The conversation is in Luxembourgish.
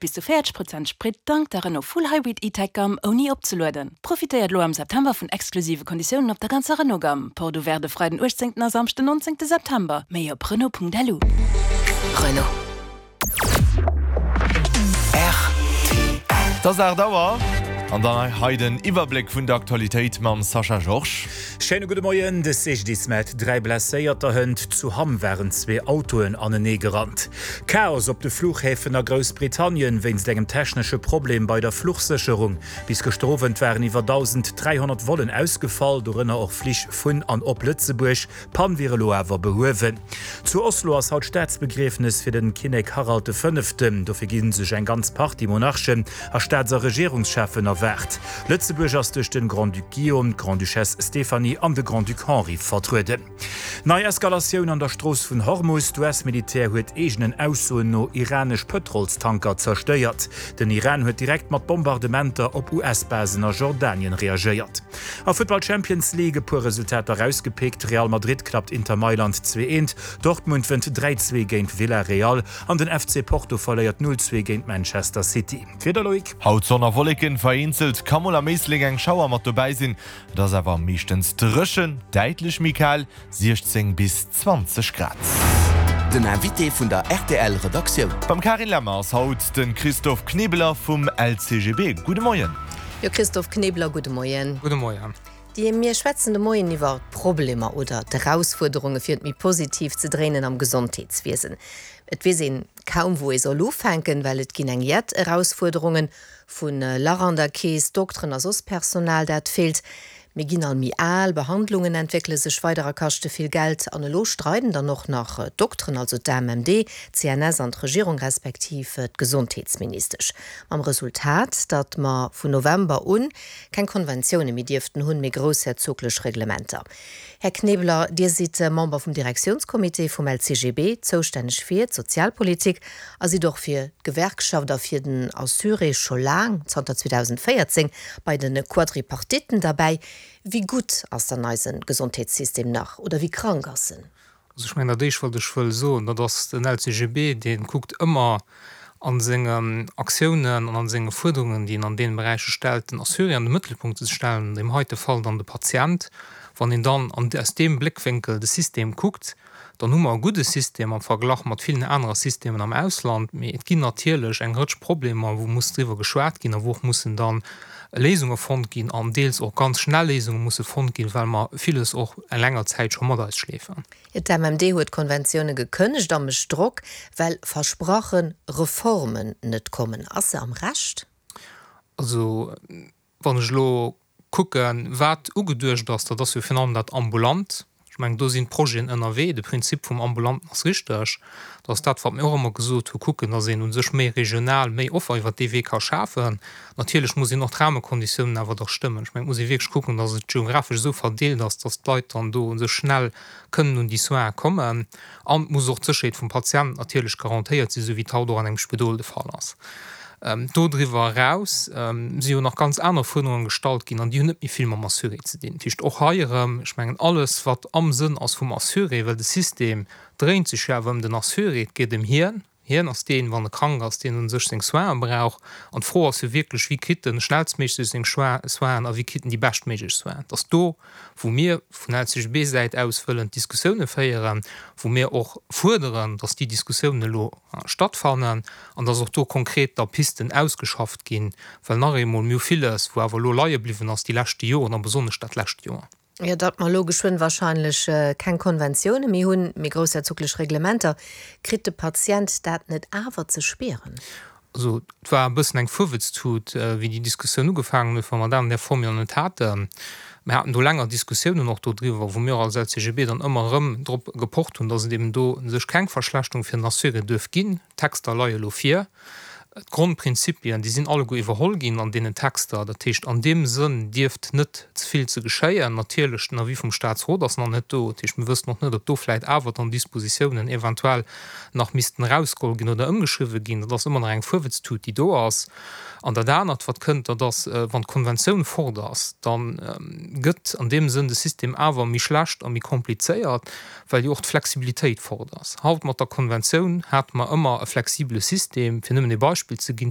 bis zu 40 Prozent Sprit dank der Renault Full Hybrid E-Tech Gamme ouni opzelueden. Profitéiert elo am September vun exklusive Konditiounen op der ganzer Renault Gamme. Porte ouverte e Freiden 18 a Samschden 19 September. Méi op Renault.lu. Renault. Et ass 8 Auer an dann hei den Iwwerbléck vun der Aktualitéit mam Sascha Georges. Schéine gudde Moien. De CGDIS mellt 3 Blesséierter. Hënt zu Hamm waren zwee Autoen anenee gerannt. Chaos op de Fluchhäfen a Groussbritannien wéinst engem technesche Problem bei der Fluchsécherung. Bis gëschter Owend waren iwwer 1.300 Vollen ausgefall, dorënner och Flich vun an op Lëtzebuerg. D'Pann wier elo awer behuewen. Zu Oslo ass haut Staatsbegriefnes fir den Kinnek Harald de Fënneften. Dofir gi sech eng ganz Partie Monarchen a Staats a Regierungscheffen erwaart. Lëtzebuerg ass duerch den Grand-Duc Guillaume, d'Grande-Duchesse Stéphanie an de Grand-Duc Henri vertrueden. Nei Eskalatioun an der Strooss vun Hormus, D'US-Militär huet eegenen Aussoen no iranesch Pëtrolstanker zerstéiert. Den Iran huet direkt mat Bombardementer op US-Basen a Jordanien reagéiert. A Futtball Champions League e puer Resultater erausgepickt, Real Madrid klappt Inter Mailand 2, 1, Dortmund wënnt 3, 2 géint Villarreal an den FC Porto verléiert 0, 2 géint Manchester City. D'Wieder, Loïc? Haut Sonn a Wolleken, vereenzelt ka mol am Éislek eng Schauer mat dobäi sinn. Et ass awer meeschtens dréchen, däitlech méi kal, 16 bis 20 Grad. Den Invité vun der rtl Redaktioun. Beim Karin Lemmer ass haut de Christophe Knebeler vum LCGB. Gudde Moien. Jo Christophe Knebeler, gudde Moien. Gudde Moien. Dir, mir schwätzen de Moien iwwer d'Problemer oder d'Erausfuerderunge fir et méi positiv ze dréinen am Gesondheetswiesen. Et weess een kaum wou ee soll ufänken, well et ginn eng jett Erausfuerderungen. Vu Lach an der Keess, Dokteren a soss Personal, dat feelt. Mir ginn all méi al, Behandlungen entwéckele sech weider a kaschte vill Geld. An elo streiden dann och nach d'Dokteren, also d'AMMD, d'CNS an d'Regierung respektiv d'Gesondheetsministesch. Mam Resultat, datt mer vun November un keng Konventioune méi dierften hunn, mee groussherzoglech Reglementer. Här Knebeler, Dir sidd Member vum Direktiounscomité vum LCGB, zoustänneg fir d'Sozialpolitik a sidd och fir d'Gewerkschaft a fir den Assuré scho laang, zanter 2014, bei de Quadripartitten derbäi. Wéi gutt ass dann eise Gesondheetssystem nach oder wéi krank ass en? Also ech mengen, dat Éischt, wat ech wëll soen, dat ass, den LCGB, dee kuckt ëmmer a sengen Aktiounen an a senge Fuerderungen, déi en an deene Beräicher stellt, den Assuré an de Mëttelpunkt ze stellen, an deem heite Fall dann de Patient. Wann een dann aus deem Bléckwénkel de System kuckt, dann hu mer e gudde System am Verglach mat villen anerer Systemen am Ausland. Mee et ginn natierlech eng Rëtsch Problemer, wou muss driwwer geschwat ginn a wou och mussen dann Léisunge fonnt ginn an deels och ganz schnell Léisunge musse fonnt ginn, well mer villes och eng länger Zäit scho mat eis schleefen. D'MMD huet Konventioune gekënnegt a mécht Drock, well versprache Reformen net kommen. Ass se am Recht? Also wann ech elo kucken, wat ugeduecht ass, dat ass jo virun allem dat Ambulant. Ech mengen, do sinn d'Projeten ënnerwee. De Prinzip vum Ambulanten ass richteg. Dat ass dat, wat mir och ëmmer gesot hu, kucken, datt een u sech méi regional, méi Offer iwwert dee Wee ka schafen. Natierlech muss een och d'Rahmekonditiounen awer da stëmmen. Ech mengen, et muss ee wierklech kucken, datt et geographesch esou verdeelt ass, datt d'Leit dann do u sech schnell kënnen un déi Soinen kommen. An et muss och d'Sécherheet vum Patient natierlech garantéiert sinn, esou wéi et haut och an engem Spidol de Fall ass. Dodriwwer eraus si jo nach ganz aner Fuerderunge gestallt ginn an déi hunn net méi vill mam Assuré ze dinn. Dat heescht, och hei erëm, ech mengen, alles wat am Sënn ass vum Assuré, well de System dréint sech jo awer ëm den Assuré, et geet ëm hien, hien ass deen, wann e krank ass, deen u sech seng Soinen brauch. An d'Fro ass jo wierklech, Wie kritt de schnellstméiglech seng Soinen a wie kritt en déi beschtméiglech Soinen? Et ass do, wou mir vun LCGB-Säit aus wëllen d'Diskussioune féieren, wou mir och fuerderen, datt déi Diskussiounen elo stattfannen an dass och do konkret da Pisten ausgeschafft ginn, well nach eemol, mir hu villes, wou awer elo leie bliwwen ass déi leschte Joren a besonnesch dat lescht Joer. Jo, datt mer elo geschwënn wahrscheinlech keng Konventioune méi hunn, mee groussherzoglech Reglementer, kritt de Patient dat net awer ze spieren? Also et war e bëssen eng Fuerwëtztut, wéi déi Diskussioun ugefaangen huet, well mer dat an där Form jo net haten. Mir haten do länger Diskussiounen och dodriwwer, wou mir och als LCGB dann ëmmer erëm drop gepocht hunn, dass et eben do u sech keng Verschlechterung fir den Assuré duerf ginn. D'Texter leie elo vir. D'Grondprinzipien, déi sinn alleguer iwwerholl ginn an deenen Texter. Dat heescht, an deem Sënn dierft net ze vill ze geschéien. Natierlech, den Avis vum Statsrot ass nach net do. Dat heescht, mir wëssen och net, ob do vläicht awer dann Dispositiounen eventuell nach missten erausgeholl ginn oder ëmgeschriwwen ginn. Dat ass ëmmer nach eng Fuerwëtztut, déi do ass. An dat anert, wat kënnt, dat ass, wann d'Konventioun fort ass, da gëtt an deem Sënn de System awer méi schlecht a méi komplizéiert, well jo och d'Flexibilitéit fort ass. Haut mat der Konventioun hate mer ëmmer e flexibele System. Fir nëmmen ee Beispill ze ginn.